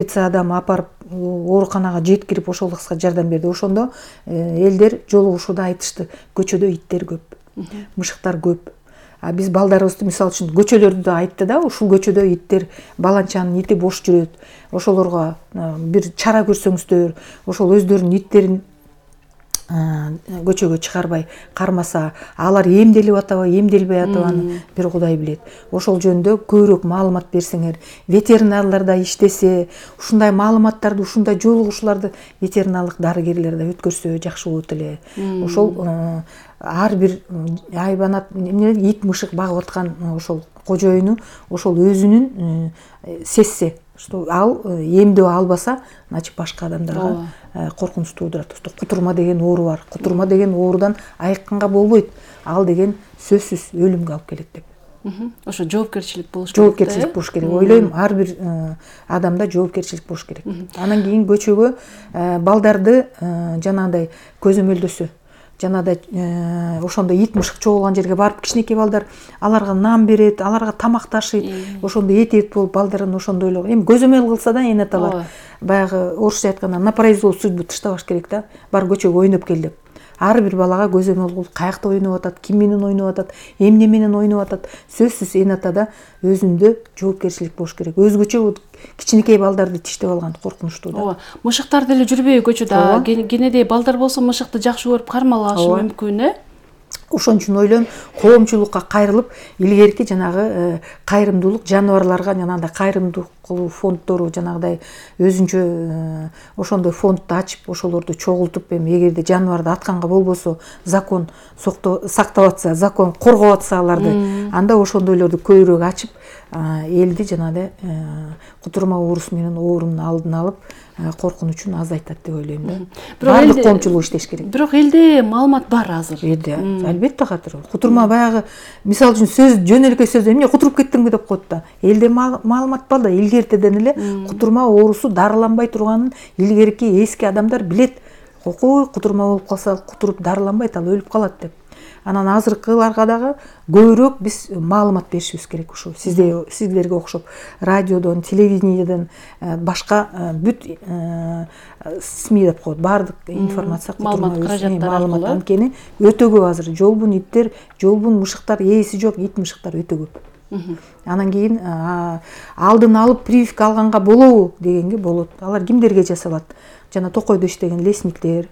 полиция адамы апарып ооруканага жеткирип ошол кызга жардам берди. Ошондо элдер жолугушууда айтышты, көчөдө иттер көп, мышыктар көп. А биз балдарыбызды мисалы үчүн көчөлөрдү да айтты да, ушул көчөдө иттер, баланчанын ити бош жүрөт. Ошолорго бир чара көрсөңүздөр, ошол өздөрүнүн иттерин көчөгө чыгарбай кармаса, алар эмделип атабы, эмделбей атабы бир Кудай билет. Ошол жөнүндө көбүрөөк маалымат берсеңер, ветеринарлар да иштесе, ушундай маалыматтарды, ушундай жолугушууларды ветеринарлык дарыгерлер да өткөрсө жакшы болот эле. Ошол ар бир айбанат ит мышык багып аткан ошол кожоюну ошол өзүнүн сезсе, что ал эмдөө албаса, значит башка адамдарга коркунуч туудурат. Кутурма деген оору бар. Кутурма деген оорудан айыкканга болбойт. Ал деген сөзсүз өлүмгө алып келет деп. Ошо жоопкерчилик болуш керек. Жоопкерчилик болуш керек. Ойлойм, ар бир адамда жоопкерчилик болуш керек. Анан кийин көчөгө балдарды жанагындай көзөмөлдөсө, жанагындай ошондо ит мышык чогулган жерге барып кичинекей балдар аларга нан берет, аларга тамак ташыйт. Ошондо этеп болуп балдарын ошондой эле эми көзөмөл кылса да энаталар баягы орусча айтканда на произвол судьбу таштабаш керек да. Бар көчөгө ойноп кел деп. Ар бир балага көзөмөл кылып, каякта ойноп атат, ким менен ойноп атат, эмне менен ойноп атат, сөзсүз энатада өзүндө жоопкерчилик болуш керек. Өзгөчө кичинекей балдарды тиштеп алган коркунучтуу да. Мышыктар деле жүрбөйбү көчөдө. Кенедей балдар болсо мышыкты жакшы көрүп кармалашы мүмкүн, Ошон үчүн ойлойм, коомчулукка кайрылып, илгерки жанагы кайрымдуулук жаныбарларга жанагындай кайрымдуулук кылуу фонддору жанагыдай өзүнчө ошондой фондду ачып, ошолорду чогултуп, эми эгерде жаныбарды атканга болбосо, закон сактап атса, закон коргоп атса аларды, анда ошондойлорду көбүрөөк ачып, элди жанагыдай кутурма оорусу менен оорунун алдын алып, коркунучун азайтат деп ойлойм да. Баардык коомчулук иштеш керек. Бирок элде маалымат бар азыр. Албетте катыр. Кутурма баягы мисалы үчүн сөз жөн эле сөз эмне кутуруп кеттимби деп коет да. Элде маалымат бар да, илгертеден эле кутурма оорусу дарыланбай турганын илгерки эски адамдар билет. Кутурма болуп калса, кутуруп дарыланбайт, ал өлүп калат деп. Анан азыркыларга дагы көбүрөөк биз маалымат беришибиз керек. Ушу сиздерге окшоп радиодон, телевидениеден, башка бүт СМИ деп коет. Баардык информация маалымат анткени өтө көп азыр. Жолбун иттер, жолбун мышыктар, ээси жок ит мышыктар өтө көп. Анан кийин алдын алып прививка алганга болобу дегенге болот. Алар кимдерге жасалат? Жана токойдо иштеген лесниктер,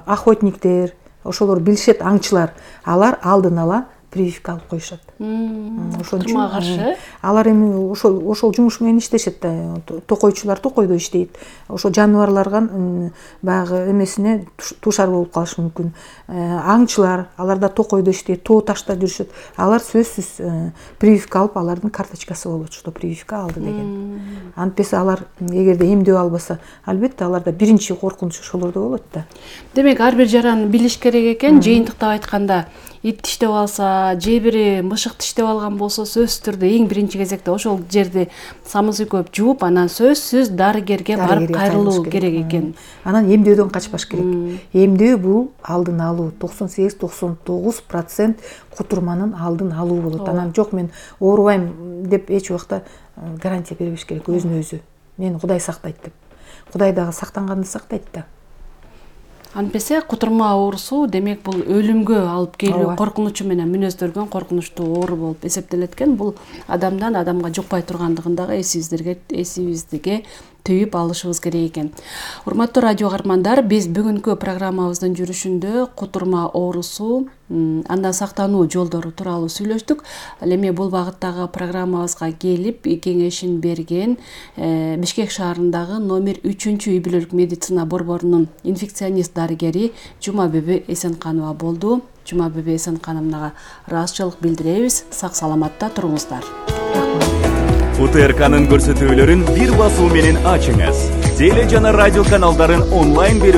охотниктер, ошолор билишет, аңчылар. Алар алдын ала прививка алып коюшат. Ошон үчүн алар эми ошол жумуш менен иштешет да. Токойчулар токойдо иштейт. Ошо жаныбарларга баягы эмесине тушар болуп калышы мүмкүн. Аңчылар, алар да токойдо иштейт, тоо ташта жүрүшөт. Алар сөзсүз прививка алып, алардын карточкасы болот, что прививка алды деген. Антпесе алар эгерде эмдөө албаса, албетте аларда биринчи коркунуч ошолордо болот да. Демек, ар бир жараны билиш керек экен. Жыйынтыктап айтканда, ит тиштеп алса, же бири мышык тиштеп алган болсо, сөзсүз түрдө эң биринчи кезекте ошол жерди самызы көп жууп, анан сөзсүз дарыгерге барып кайрылуу керек экен. Анан эмдөөдөн качпаш керек. Эмдөө бул алдын алуу. 98-99% кутурманын алдын алуу болот. Анан жок мен оорубайм деп эч убакта гарантия бербеш керек өзүнө өзү. Мени Кудай сактайт деп. Кудай дагы сактанганды сактайт да. Анпесе кутурма оорусу демек бул өлүмгө алып келүү коркунучу менен мүнөздөргөн коркунучтуу оору болуп эсептелет экен. Бул адамдан адамга жукпай тургандыгын дагы эсибизге түйүп алышыбыз керек экен. Урматтуу радио каармандар, биз бүгүнкү программабыздын жүрүшүндө кутурма оорусу, андан сактануу жолдору тууралуу сүйлөштүк. Ал эми бул багыттагы программабызга келип кеңешин берген Бишкек шаарындагы номер 3 үй бүлөлүк медицина борборунун инфекционист дарыгери Жумабүбү Эсенканова болду. Жумабүбү Эсенкановнага ыраазычылык билдиребиз. Сак саламатта туруңуздар. УТРКнын көрсөтүүлөрүн бир басуу менен ачыңыз. Теле жана радио каналдарын онлайн берүү